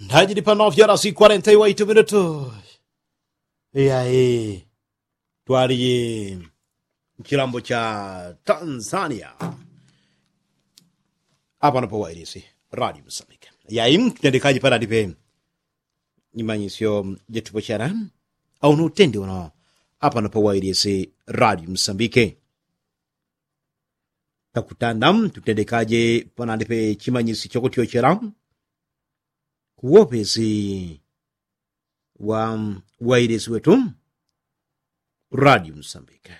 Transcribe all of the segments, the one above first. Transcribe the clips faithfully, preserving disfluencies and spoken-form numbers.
Tajidi pano fyarasi kwarenta iwaitu minutu. Iyayi twaliye mchilambo cha tanzania. Apano pawailisi radio msambike. Iyayi mtendekaji panalipe nyimanyisyo jetupochana. Auno utendi uno apano pawailisi radio msambike. Takutanda tutendekaje panalipe chimanyisi chokutyochela kuwopesi wa wailesi wetu radio msambike.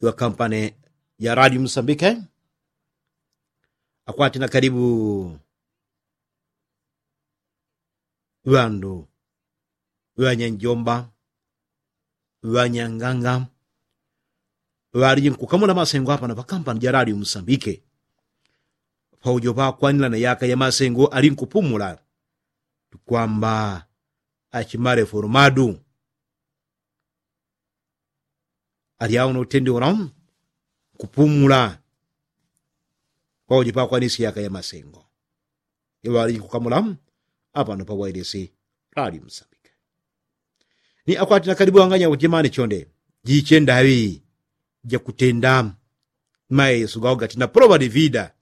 Iwa kampane ya radio msambike akwati na kalibu ŵandu ŵanyanjomba ŵanyanganga ŵaliji nkukamula masengo apana pakampani ja radio msambike. Paujo pakwanila na yaka ya masengo ali nkupumula tukwamba achimale foromadu. Alyauno utendi uno nkupumula paujo pakwanisi yaka ya masengo. Iŵaliji nkukamula apano pawailisi radio msambike. Ni akwati na kalibu wanganya kujimani chonde jiche ndaŵi jakutenda mayesu gao gati na poloŵa divida.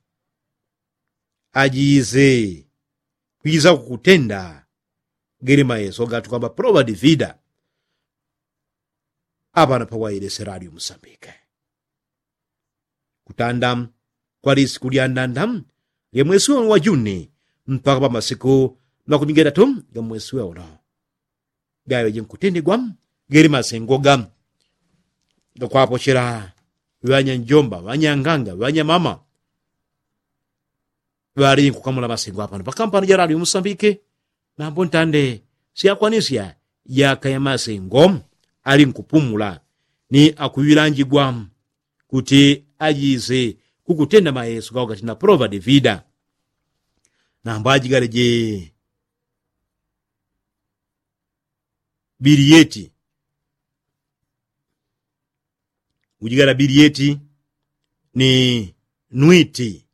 Ajize kwiza kukutenda geli mayesu gatukwamba poloŵa divida. Apano pawailisi radio msambike kutanda kwalisiku lyandanda lyamwesi weuno wa juni mpaka pamasiku makumingetatu gamwesi weuno. Gaŵeje nkutendigwa geli masengo ga gakwapochela ŵanyanjomba ŵanyanganga ŵanyamama. Ŵaliji nkukamula masengo apano pakampani ja radio msambike. Nambo ntande syakwanisya yaka ya masengo ali nkupumula ni akuŵilanjigwa kuti ajise kukutenda mayesu gao gati na poloŵa divida. Nambo ajigaleje biliyeti ujigala biliyeti ni nwiti.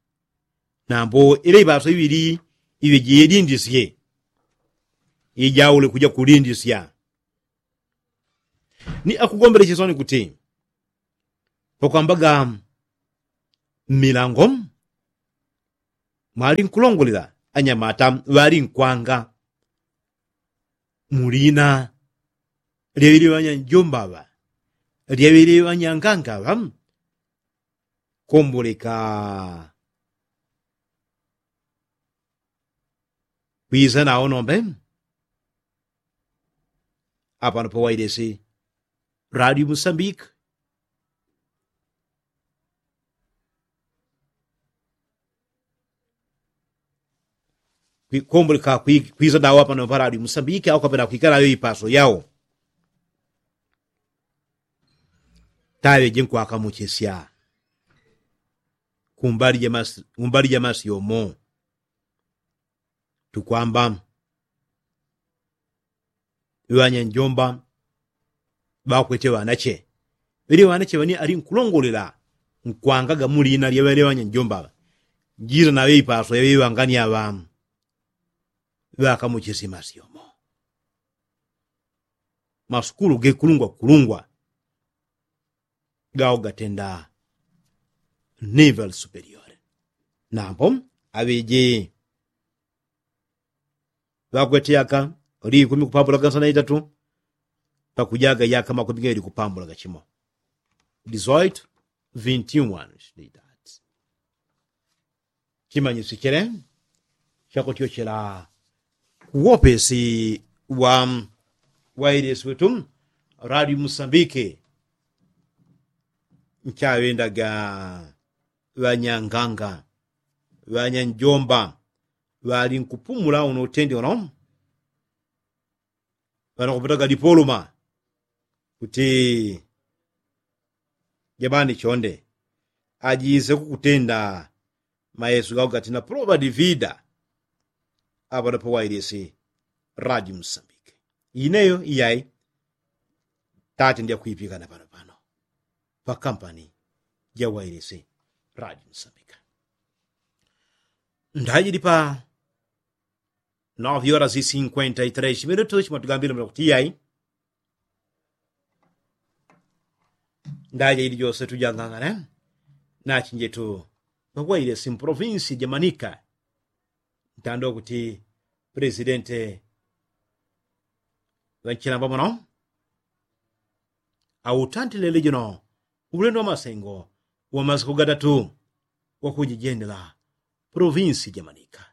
Nambo ile iŵaso iŵili iŵe jiyelindisye ijaule kuja kulindisya. Ni akugombelechesoni kuti pakwambaga mmilango mwali nkulongolela anyamata ŵali nkwanga mulina lyaŵili ŵanyanjomba ŵa lyaŵili ŵanyanganga ŵa. Komboleka kwiza nawo nombe apano pawailisi radio msambike. Komboleka kwiza nawo apano paradi msambike au kapena kwikala yo ipaso yao. Taŵeje nkwakamuchesya kumbali ja masi yomo tukwamba ŵanyanjomba ŵakwete ŵanache. Ŵele ŵanache ŵani ali nkulongolela nkwangaga mulina lya ŵele ŵanyanjomba ŵa jila na ŵe ipaso ya ŵe ŵangani aŵa ŵakamuchisi masyomo. Masukulu gekulungwa kulungwa gao gatenda nivel superiore. Nambo aŵeje ŵakwete yaka likumi kupambula gansana itatu pakujaga yaka makumi gaili kupambula gachimo. Dizoitu vinti wan. Chimanyisi chele chakutyochela kuwopesi wa wailesi wetu radio musambike. Nchaŵendaga ŵanyanganga ŵanyanjomba ŵali nkupumula uno utendi uno. Ŵanakupataga dipoluma kuti jabani chonde ajise kukutenda mayesu gao gatina pulova divida. Apano pawailisi radio musambike ineyo iyai tate ndyakwipikana pano pano pakampani jawailisi radio musambike. Ndajili pa Nove horas e cinquenta e três minutos matugambile mula kuti yai. Ndaja ili jose tujangangane nachinjetu pakwaile simprovinsi jamanika. Ntando kuti presidente ŵanchilamba muno autantilele jino ulendo wa masengo wa masiku gatatu wakujijendela provinsi jamanika.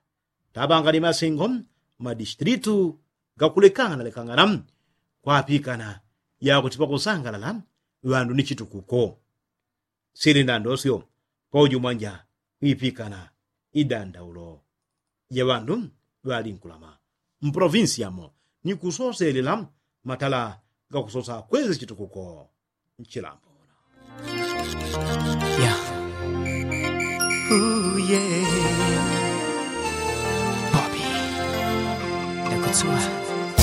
Taŵangani masengo madistritu gakulekangana lekangana kwapikana yakutipa kusangalala ŵandu ni chitukuko. Sili ndandosyo paujumwanja kwipikana idandaulo ja ŵandu ŵalinkulama mpolovinsi yamo ni kusoselela matala gakusosa kwezi chitukuko. Nchilambo. Yeah. Ooh, yeah. Bobby. Dakutsua.